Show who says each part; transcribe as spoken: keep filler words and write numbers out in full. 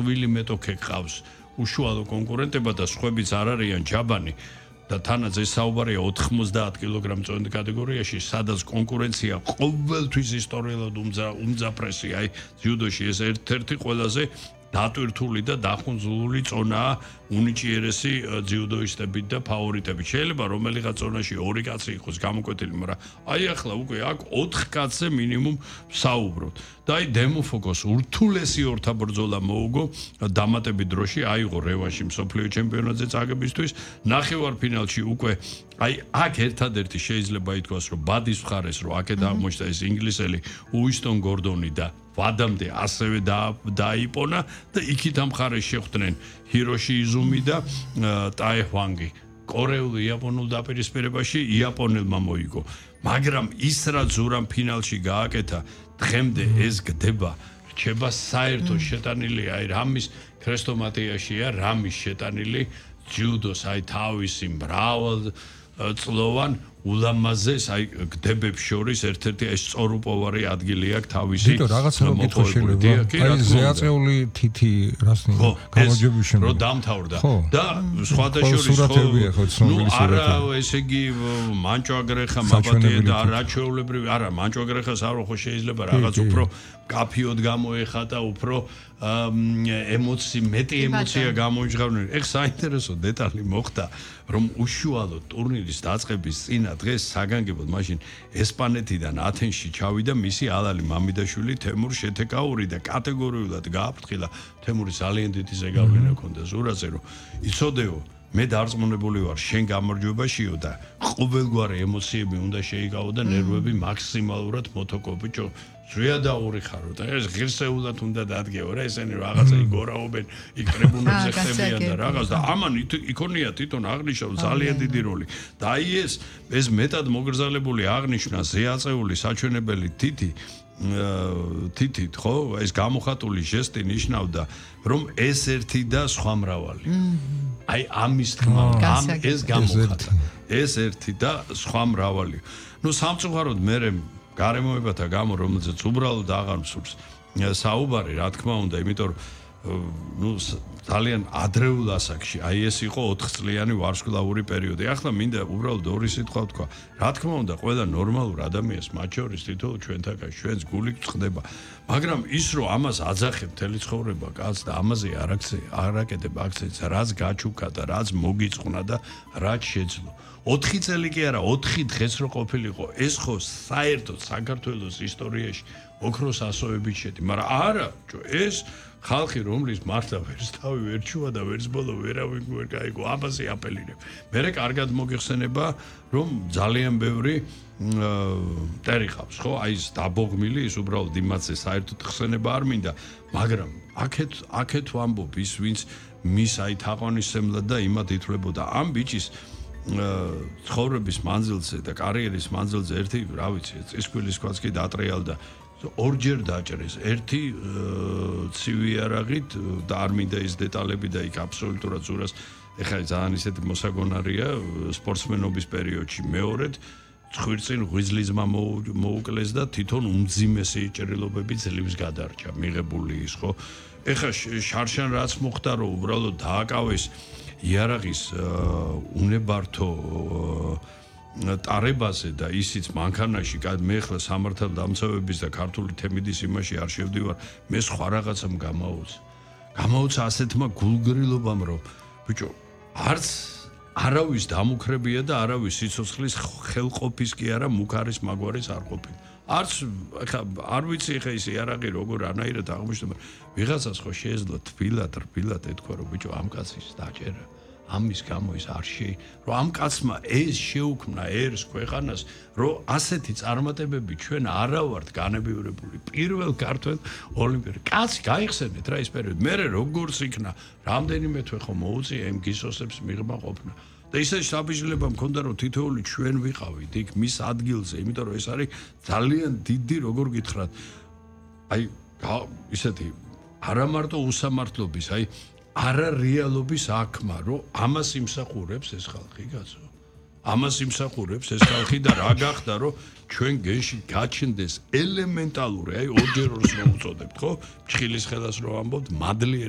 Speaker 1: ხვილი მეტოქე ყავს უშუალო კონკურენტება და სხვებიც არ არიან ჯაბანი და თანაც ეს საუბარია ოთხმოცდაათ კილოგრამ წონით კატეგორიაში, სადაც კონკურენცია ყოველთვის ისტორიულად უმძაფრესი, აი ძიუდოში ეს ერთ-ერთი ყველაზე დატვირთული და დახუნძლული წონაა უნიჭიერესი ძიუდოისტებით და ფავორიტებით. შეიძლება რომელიღაც წონაში ორი კაცი იყოს გამოკვეთილი, მაგრამ აი ახლა უკვე აქ ოთხ კაცზე მინიმუმ საუბრობთ. და აი დემოფოკოს ურთულესი ორთაბრძოლა მოუგო დამატებით დროში, აიღო რევანში მსოფლიო ჩემპიონატზე წაგებისთვის, ნახევარფინალში უკვე აი აქ ერთადერთი შეიძლება ითქვას, რომ ბადის მხარეს, რომ აქეთ აღმოჩნდა ეს ინგლისელი უისტონ გორდონი და ვადამდე ასევე დაიპონა და იქით ამ მხარეს შეხვდნენ ჰიროში იზუმი და ტაე ჰვანგი. კორეულ იაპონურ დაპირისპირებაში იაპონელმა მოიგო. მაგრამ ის რაც ზურამ ფინალში გააკეთა, დღემდე ეს გდება, რჩება საერთო შეტანილი, აი რამის ქრესტომატიაშია, რამის შეტანილი ჯიუდოს, აი თავისი მრავალ წლოვან ულამაზეს აი გდებებს შორის ერთ-ერთი ეს სწორუპოვარი ადგილი აქვს თავისი.
Speaker 2: დიო რაღაცა რომ კითხვა შეიძლება. აი ზეაწეული თითი რასნი გამარჯვების შემდეგ.
Speaker 1: რო დამთავრდა და სხვათა შორის ხო ნუ არა ესე იგი მანჭოაგრეხა მაბატია და რა ჩვეულებრივი არა მანჭოაგრეხას არ ხო შეიძლება რაღაც უფრო კაფიოდ გამოეხატა უფრო ემოცი მეტი ემოცია გამოიჟღავნენ. ეხ საინტერესო დეტალი მოხდა რომ უშუალოდ ტურნირის დაწყების წინა დღეს საგანგებოდ მაშინ ესპანეთიდან ათენში ჩავიდა მისი ალალი მამიდაშვილი თემურ შეთეკაური და კატეგორიულად გააფრთხილა. თემური ძალიან დიდი ზეგავლენა ჰქონდა ზურაზე რომ იცოდეო მე დარწმუნებული ვარ შენ გამარჯვებაშიო და ყოველგვარი ემოციები უნდა შეიკავო და ნერვები მაქსიმალურად მოთოკო ბიჭო ზვიადაური ხარო და ეს ღირსეულად უნდა დადგეო რა ესენი რაღაცა იგორაობენ იქ ტრიბუნებზე ხდებიან და რაღაც და ამან იქონია თვითონ აღნიშნულ ძალიან დიდი როლი და აი ეს ეს მეტად მოგრძალებული აღნიშვნა ზეაწეული საჩვენებელი თითი თითით ხო ეს გამოხატული ჟესტი ნიშნავდა რომ ეს ერთი და სხვა მრავალი აი ამის თქმა ამ ეს გამოხატა ეს ერთი და სხვა მრავალი ნუ სამწუხაროდ მე გარემოებათა გამო რომელზეც უბრალოდ აღარ მსურს საუბარი რა თქმა უნდა იმიტომ რომ ნუ ძალიან ადრეულ ასაკში აი ეს იყო ოთხწლიანი ვარსკვლავური პერიოდი ახლა მინდა უბრალოდ ორი სიტყვა ვთქვა რა თქმა უნდა ყველა ნორმალურ ადამიანს მათ შორის თითოეულ ჩვენთაგან ჩვენს გული გწდება მაგრამ ის რომ ამას აძახებ მთელი ცხოვრება კაცს და ამაზე არ არაკეთებ აქცენტს რაც გაჩუქა და რაც მოგიწყნა და რაც შეძლო ოთხი წელი კი არა ოთხი დღეს რო ყოფილიყო ეს ხო საერთოდ საქართველოს ისტორიაში ოქროს ასოებით შედი მაგრამ არა ეს ხალხი რომლის მართლა ვერც თავი ვერ ჩუა და ვერც ბოლო ვერავინ ვერ გაიგო ამაზე აპელირებ მე კარგად მოგიხსენება რომ ძალიან ბევრი მტერი ყავს ხო აი ეს დაბოღმილი ის უბრალოდ იმაზე საერთოდ ხსენება არ მინდა მაგრამ აქეთ აქეთ ვამბობ ის ვინც მის აი თაყვანისმცემლად და იმად ითვლებოდა ამ ბიჭის ცხოვრების მანძილზე და კარიერის მანძილზე ერთი რა ვიცი წისქვილის ქვაც კი დატრიალდა ორჯერ დაჭრეს ერთი ცივი არაღით და არ მინდა ის დეტალები და იქ აბსოლუტურად ზურას ეხლა ძალიან ისეთი მოსაგონარია სპორტსმენობის პერიოდში მეორედ ცხვირწინ ღვიძლიზმა მოუკლეს და თვითონ უმძიმესი ჭრილობები ძლივს გადარჩა მიღებული ის ხო ეხლა შარშან რაც მოხდა რომ უბრალოდ დააკავეს იარაღის უნებართო ტარებაზე და ისიც მანქანაში მე ხლა სამართალ დამცავების და ქართული თემიდის იმაში არ შევდივარ მე სხვა რაღაცამ გამაუცა გამაუცა ასეთმა გულგრილობამ რომ ბიჭო არც არავის დამუქრებია და არავის სიცოცხლის ხელყოფის კი არა მუქარის მაგვარის არ ყოფილი არც ხა არ ვიცი ხა ის იარაღი როგორ ანაირად აღმოჩნდა ვიღაცას ხო შეეძლო თბილად რბილად ეთქვა რომ ბიჭო ამ კაცის დაჭერა ამის გამო ის არ შეი რომ ამ კაცმა ეს შეუქმნა ერს ქვეყანას რომ ასეთი წარმატებები ჩვენ არა ვართ განებივრებული პირველ ქართველ ოლიმპიურ კაცი გაიხსენეთ რა ის პერიოდი მე როგორც იქნა რამდენიმე თვე ხო მოუწია იმ გისოსებს მიღმა ყოფნა და ისეთი შაბიჟლება მქონდა რომ თითოეული ჩვენ ვიყავით იქ მის ადგილზე იმიტომ რომ ეს არის ძალიან დიდი როგორ გითხრათ აი ისეთი არა მარტო უსამართლობის აი არა რეალობის აქმა რომ ამას იმსახურებს ეს ხალხი კაცო ამას იმსახურებს ეს ხალხი და რა გახდა რომ ჩვენ გენში გაჩნდეს ელემენტალური აი ორჯერ ორს მოუწოდებთ ხო ჩხილის ხელას რო ამბობთ მადლიერი